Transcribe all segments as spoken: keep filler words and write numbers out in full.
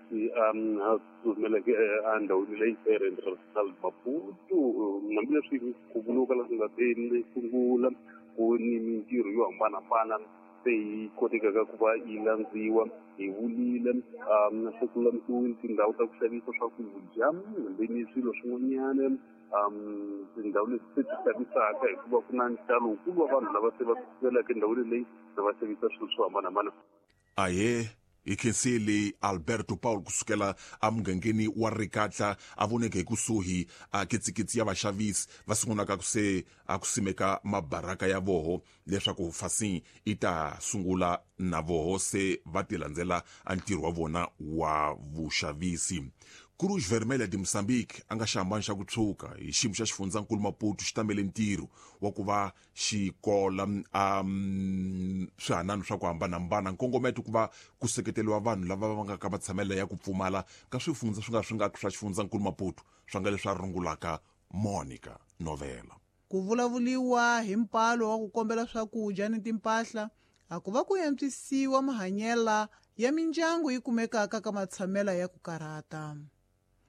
leswi a tsumeleke endhawini leyi Reginald Maputo. Hambileswi ku vuriwaka leswi nga te sungula ku ni mintirho yo hambanahambana se yi kotekaka ku va yi landziwa, hi vulile um se ku lulamisiwile tindhawu ta ku xavisa swakudya hambi ni swilo swin'wanyana, um tindhawu leti se ti xavisaka hikuva ku na ntalo wukulu wa vanhu lava se va tsumelaka endhawini leyi va xavisa swilo swo hambanahambana. Ahe, hi khensile Alberto Paul kusukela emugangeni wa Rikatla, a voneke hi kusuhi a kitsikitsi ya vaxavisi va sungulaka ku se a ku simeka mabaraka ya voho leswaku fasi i ta sungula na voho se va ti landzela a ntirho wa vona wa vuxavisi. Cruz Vermelha de Moçambique a nga xihambano xa ku tshuka hi xiyimo xa xifundzankulu Maputo xi tamele ntirho wa ku va xikola um swihanano swa ku hambanahambana, nkongometo ku va ku seketeriwa vanhu lava va nga ka matshamelo ya ku pfumala ka swifundza swi nga swi nga swa xifundzankulu Maputo, swa nga leswi a rungulaka Monica Novela. Ku vulavuriwa hi mpalo wa ku kombela swakudya ni timpahla a ku va ku antswisiwa mahanyela ya mindyangu yi kumekaka ka matshamela ya ku karhata.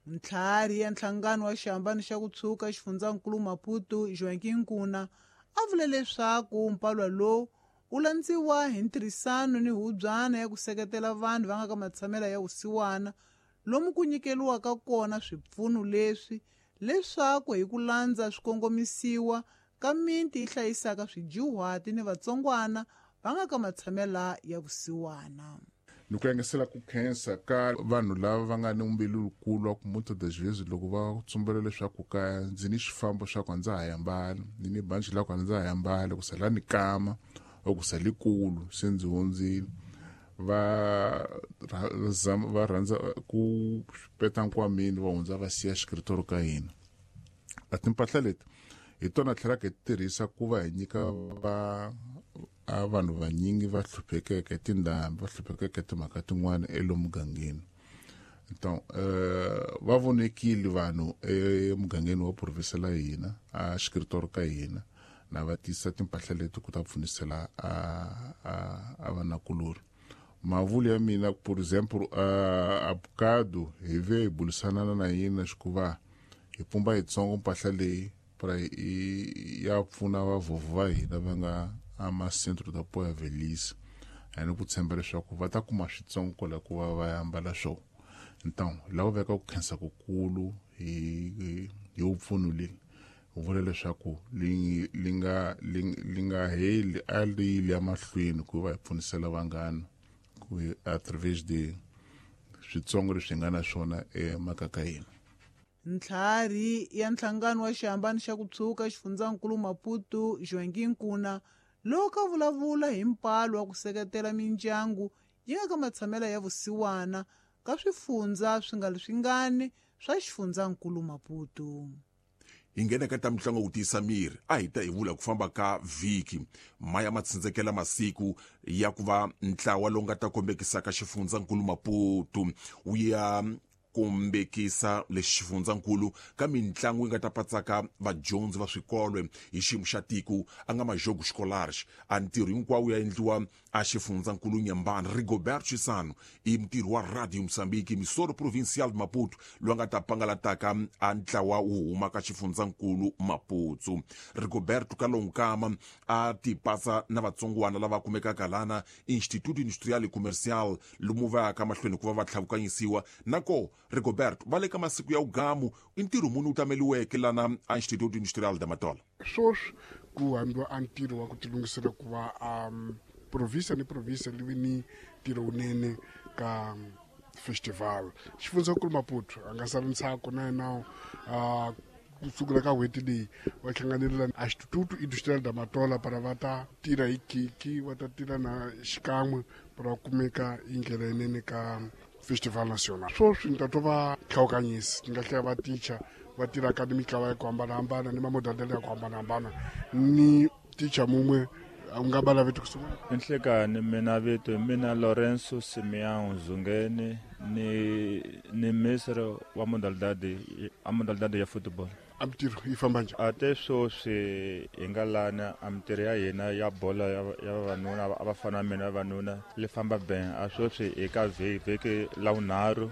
Ntlhari ya nhlangano wa xihambano xa ku tshuka xifundzankulu Maputo, Joaquim Nkuna, a vule leswaku mpalwa lowu wu landziwa hi ntirhisano ni hubyana ya ku seketela vanhu va nga ka matshamela ya vusiwana, lomu ku nyikeriwaka kona swipfuno leswi leswaku hi ku landza swikongomisiwa ka miti yi hlayisaka swidyuhati ni vatsongwana va nga ka matshamela ya vusiwana. Ni ku yangisela ku khensa ka vanhu lava va nga ni mbilu lukulu wa ku muitas das vezes loko va tsumbela leswaku ka ndzi ni xifambo xa ku a ndza ha yambali, ni ni banci la ku a ndza ha yambali, ku sala ni kama or ku sale kulu se ndzi hundzile, va va rhandza ku peta nkwameni va hundza va siya xikritoro ka hina. A timpahla leti hi tona tlhelaka hi tirhisa ku va hi nyika va a vanhu vanyingi va hluphekeke tindhambi, va hluphekeke timhaka tin'wana elomugangeni. Então uh, va vonekile vanhu emugangeni wa province la hina a xikritoro ka hina na va tisa timpahla leti ku ta pfunisela a a a vanakulori. Mavulu ya mina, por exemplo, a abukado hi ve hi bulisana na yena xikuva hi pumba yitsongo mpahla leyi para ya pfuna vavhovho va hina va nga ama centro da apoio à velhice, ani ku tshemba leswaku va ta kuma switsongo kwala ku va va ambala swona. Então lava veka ku khensa kukulu hi hi vupfuno leyi u vula leswaku li li nga li nga heli a li yile emahlweni ku va hi pfunisela vanghana ku através de switsongo leswi hi nga na swona emakaya ka hina. Ntlhari ya nhlangano wa xihambano xa ku tshuka xifundzankulu Maputo, Joaquim Nkuna, loko a vulavula hi mpalo wa ku seketela mindyangu yi nga ka matshamela ya vusiwana ka swifundza swi nga swingani swa xifundzankulu Maputo. Hi nghena ka ta mitlangu ku tiyisa miri, a hi ta hi vula ku famba ka vhiki maya ma tsindzekela masiku ya ku va ntlawa lowu nga ta kombekisaka xifundzankulu Maputo wu ya kombekisa lexi xifundzankulu ka mitlangu yi nga ta patsaka vadyondzi va swikolo hi xiyimo xa tiko a nga majogo scholars. A ntirho hinkwawo ya endliwa a xifundzankulu Nyambani. Rigobert Chisano i mutirhi wa Radio Mozambique Emissora Provincial de Maputo loyi a nga ta pangalataka a ntlawa wu huma ka xifundzankulu Maputo. Rigoberto Kalonkama a ti patsa na vatsongwana lava kumekaka lana Instituto Industrial e Comercial lomu va yaka mahlweni ku va va tlhavukanyisiwa nako. Rigoberto, va le ka masiku ya ugamu, i ntirho muni wu tameliweke lana a Instituto Industrial de Matola? Swoswi ku hambiwa a ntirho wa ku tilunghisela ku va um province ni province li vi ni ntirho wunene ka festival. Xifundzankulu Maputo a nga sali ntsako na yena uh, kusukela ka n'hweti leyi va hlanganile a Instituto Industrial da Matola para va ta tirha hi khiki, va ta tirha na xikan'we para va kumeka hi ndlela yinene ka festival national. Swoswi ni ta twa va hlawukanyisi ni nga hlaya va ticha va tirhaka ni mitlawa ya ku hambanahambana ni mamodalidali ya ku hambanahambana ni ticha mun'we u nga bala vito kusungula. Enhlekani mina vito mina Lorenzo Simeão Zungeni, ni ni ministre wa modalidade a modalidade ya football. A mintirho yi famba njhani? A te sweswi hi nga lana a mintirho ya hina ya bolo ya ya vavanuna a vafana mina vavanuna li famba ben. A sweswi hi ka vhiki vhiki la vunharhu.